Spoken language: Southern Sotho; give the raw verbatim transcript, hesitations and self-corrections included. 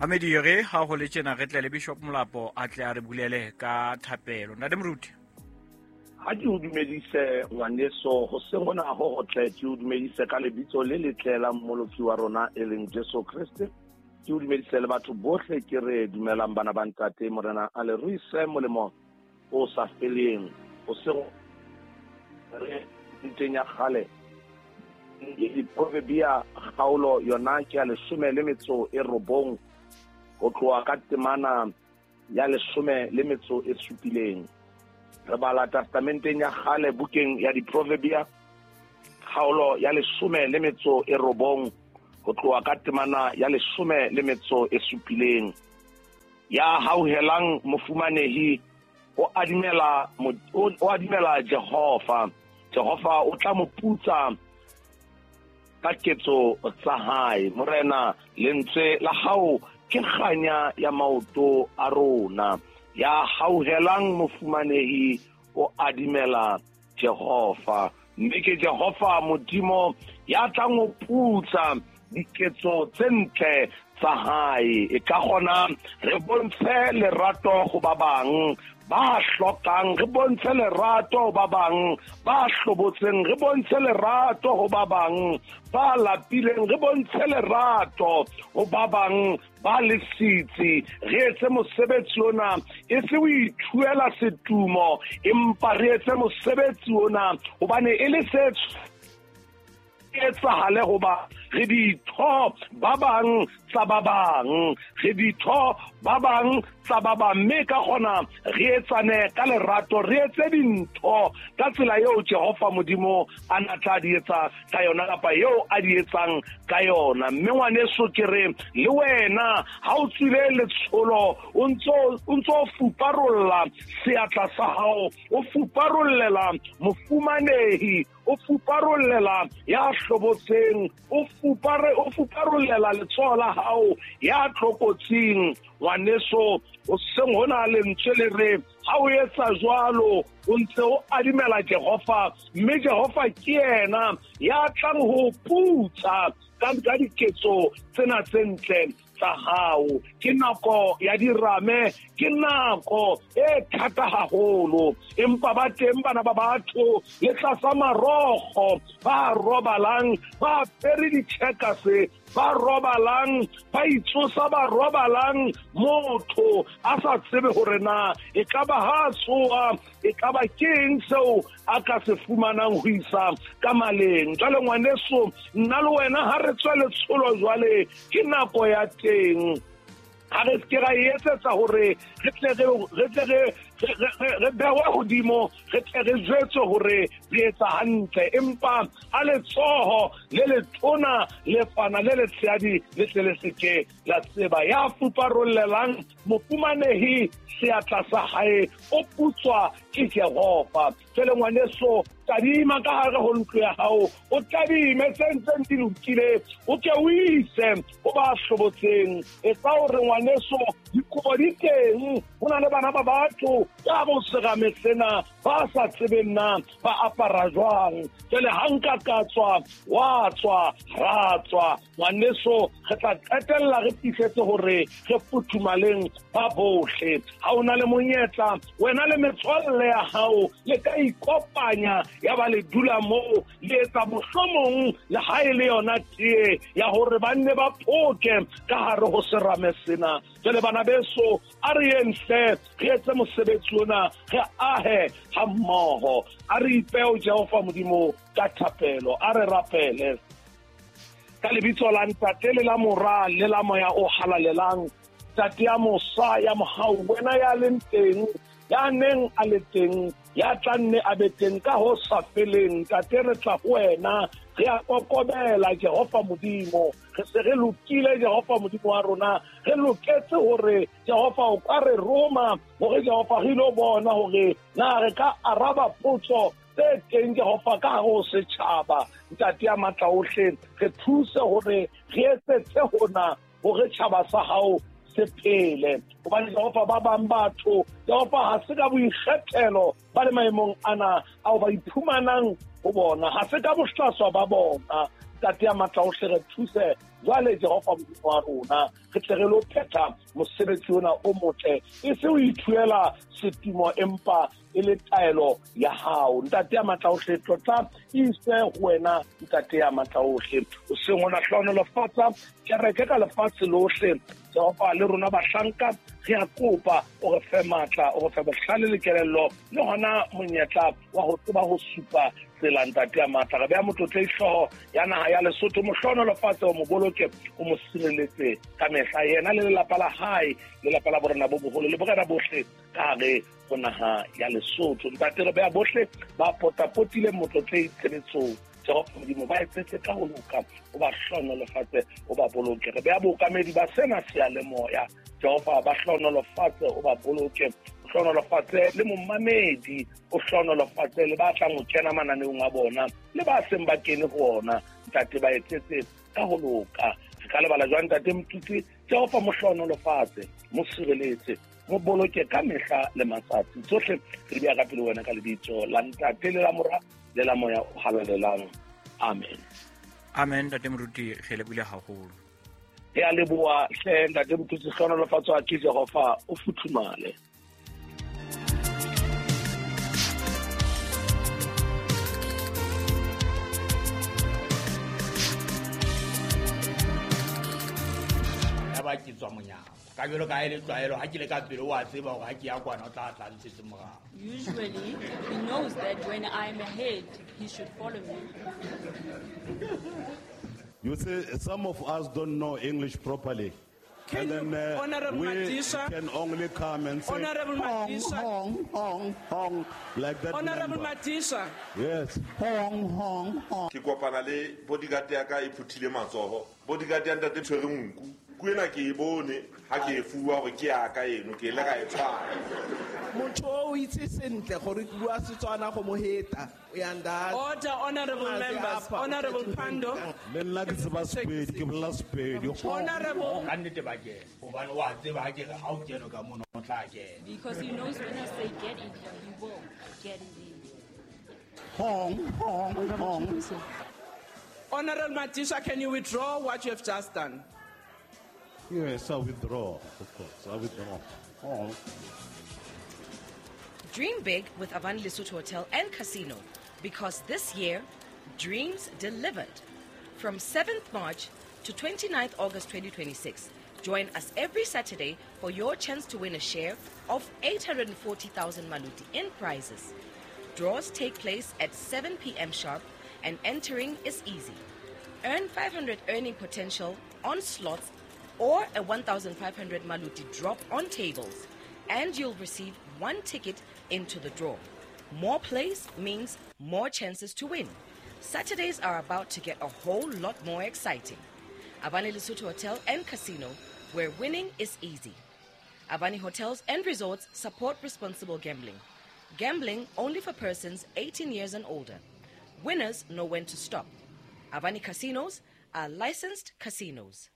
Amedi re ha ho le tjena re tle le Bishop Molapo a tle a re bulele ka thapelo. Ntate Moruti. Ha ke o dumedise ngwaneso, hoseng hona ho hotle, ke o dumedise ka lebitso le letle la Mmoloki wa rona e leng Jesu Kreste. Ke o dumedise le batho bohle, ke re dumelang bana ba ntate, Morena a le ruise molemo o sa feleng. Hoseng re nteng ya kgale Diproverbia kgaolo yona ke ya leshome le metso e robong ho tloha ka temana ya leshome le metso e supileng. Re bala testamenteng ya kgale bukeng ya Diproverbia kgaolo ya leshome le metso e robong ho tloha ka temana ya leshome le metso e supileng. Ya hauhelang mofumanehi o adimela o adimela Jehova, Jehova o tla mo putsa ka ketso tsa hae. Morena, lentswe la hao ke kganya ya maoto a rona. Ya hauhelang mofumanehi o adimela Jehova, mme ke Jehova Modimo ya tlang ho putsa diketso tse ntle tsa hae. E ka kgona re bontshe lerato ho ba bang ba hlokang, re bontshe lerato ho ba bang ba hlobotseng, re bontshe lerato ho ba bang ba lapileng, re bontshe lerato ho ba bang ba lesitsi. Re etse mosebetsi ona e se o ithuela setumo, empa re etse mosebetsi ona hobane e le se etsahale hoba re ditho ba bang tsa ba bang, re ditho ba bang tsa ba bang, mme ka kgona re etsane ka lerato, re etse dintho ka tsela eo Jehova Modimo a na tla di etsa ka yona kapa eo a di etsang ka yona. Mme ngwaneso ke re le wena ha o tswile letsholo o ntso o ntso fuparolla seatla sa hao, o fuparollela mofumanehi, o fuparollela ya hlobotseng, o fupare o fuparollela letsoho la hao ya tlokotsing. Ngwaneso, o seng hona lentswe le re ha o etsa jwalo o ntse o adimela Jehova, mme Jehova ke yena ya tlang ho putsa ka ka diketso tsena tse ntle tsa hao. Ke nako ya dirame, ke nako e thata haholo, empa ba teng bana ba batho le tlasa marokgo ba robalang ba apere ditjhekase, ba robalang ba itsosa, ba robalang motho a sa tsebe hore na e ka ba ha tsoa, e ka ba ke eng seo a ka se fumanang ho isa ka maleng. Jwale ngwaneso, nna le wena ha re tswe letsholo jwale, ke nako ya teng. Ha re ke ra etsetsa hore re tle re re tle re re behwe hodimo, re tle re jwetswe hore re etsa hantle, empa a letsoho le letona le fana le letshehadi le tle le seke la tseba. Ya fuparollelang mofumanehi seatla sa hae o putswa ke Jehova. Jwale ngwaneso, tadima ka hare ho ntlo ya hao, o tadime tse ntseng di lokile, o ke o ise ho ba hlobotseng. Etsa hore ngwaneso dikobo di teng, ho na le bana ba batho ka bo serame sena ba sa tsebeng na ba apara jwang. Jwale ha nka ka tswa, wa tswa, ra tswa, ngwaneso, re tla qetella re fihletse hore re futhumaleng ba bohle. Ha o na le monyetla, wena le metswalle ya hao le ka ikopanya, ya ba le dula moo le etsa mohlomong le ha e le yona tee ya hore ba nne ba phoke ka hare ho serame sena. Jwale bana beso, a re yeng hle re etse mosebetsi ona, re ahe ha mmoho. A re ipeo Jehova Modimo ka thapelo, a re rapele ka lebitso la Ntate le la Mora le la Moya o Halalelang. Ntate ya mosa ya mohau, wena ya leng teng, ya neng a le teng, ya tla nne a be teng ka ho sa feleng. Ntate, re tla ho wena, re a kokobela Jehova Modimo. Re se re lokile Jehova Modimo wa rona, re loketse hore Jehova o ka re roma hore Jehova re ilo bona hore na re ka araba potso tse teng Jehova ka hare ho setjhaba. Ntate ya matla ohle, re thuse hore re etsetse hona hore tjhaba sa hao se phele. Hobane Jehova ba bang batho Jehova ha se ka boikgethelo ba le maemong ana ao ba iphumanang ho bona, ha se ka bohlaswa ba bona. Ntate ya matla ohle, re thuse jwale Jehova Modimo wa rona, re tle re lo phetha mosebetsi ona o motle, e se o ithuela setumo empa e le taelo ya hao. Ntate ya matla ohle, tlotla e ise ho wena Ntate ya matla ohle. O seng ona hlohonolofatsa kereke ka lefatshe lohle Jehova, le rona bahlanka re a kopa o re fe matla, o re fe bohlale le kelello, le hona monyetla wa ho tseba ho supa tsela Ntate ya matla. Re beha motlotlei hlooho ya naha ya Lesotho, mo hlohonolofatse, o mo boloke, o mo sireletse ka mehla, yena le lelapa la hae, lelapa la borena bo boholo le borena bohle ka hare ho naha ya Lesotho. Ntate, re beha bohle ba potapotileng motlotlei tshebetsong Jehova Modimo, ba etsetse ka ho loka, o ba hlohonolofatse, o ba boloke. Re beha bookamedi ba sena seyalemoya Jehova, ba hlohonolofatse, o ba boloke, o hlohonolofatse le momamedi, o hlohonolofatse le ba tlang ho kena mananeong a bona le ba seng ba kene ho ona. Ntate, ba etsetse ka ho loka. Re ka lebala jwang Ntate Motutsi? Jehova, mo hlohonolofatse, mo sireletse, mo boloke ka mehla le matsatsi. Tsohle re di beha ka pele wena ka lebitso la Ntate le la Mora le la Moya o Halalelang. Amen. Amen. Ntate Moruti, re lebohile haholo. Re a leboha hle Ntate Motutsi, hlohonolofatswa ke Jehova, o futhumale. Ya ba ke tswa monyako. Ka jwalo ka e le tlwaelo, ha ke le ka pele o a tseba hore ha ke ya kwana o tla tla ntshetse morao. Usually he knows that when I'm ahead, he should follow me. You see, some of us don't know English properly. Can And then, uh, Honorable we Madisha, can only come and say, Honorable hong, Madisha. hong, hong, hong, like that. Honorable number. Madisha. Yes. Hong, hong, hong. Ke kopana le bodyguard ya ka e phuthile matsoho. Bodyguard ya ntate tshwere nku. Ku ena ke e bone ha ke e fuwa hore ke ya ka eno, ke ile ka e tshwara. Motho o itse sentle gore ke bua Setswana go mo heta. O ya nda. Order, honorable Mazi members. apa, Honorable o Pando. Le nna ke tseba Sepedi, ke bolela Sepedi. Honorable. Ka nnete ba kena, hobane wa tseba ha ke re ha o kene ka mono o tla kena. Because he knows when I say get in here, he will get in here. Hong, hong, hong. Honorable Madisha, can you withdraw what you have just done? Yes, I withdraw, of course. I withdraw. Hong. Dream big with Avani Lesotho Hotel and Casino, because this year, dreams delivered. From seventh March to twenty-ninth August twenty twenty-six, join us every Saturday for your chance to win a share of eight hundred forty thousand Maluti in prizes. Draws take place at seven p.m. sharp and entering is easy. Earn five hundred earning potential on slots or a one thousand five hundred Maluti drop on tables, and you'll receive one ticket into the draw. More plays means more chances to win. Saturdays are about to get a whole lot more exciting. Avani Lesotho Hotel and Casino, where winning is easy. Avani Hotels and Resorts support responsible gambling. Gambling only for persons eighteen years and older. Winners know when to stop. Avani Casinos are licensed casinos.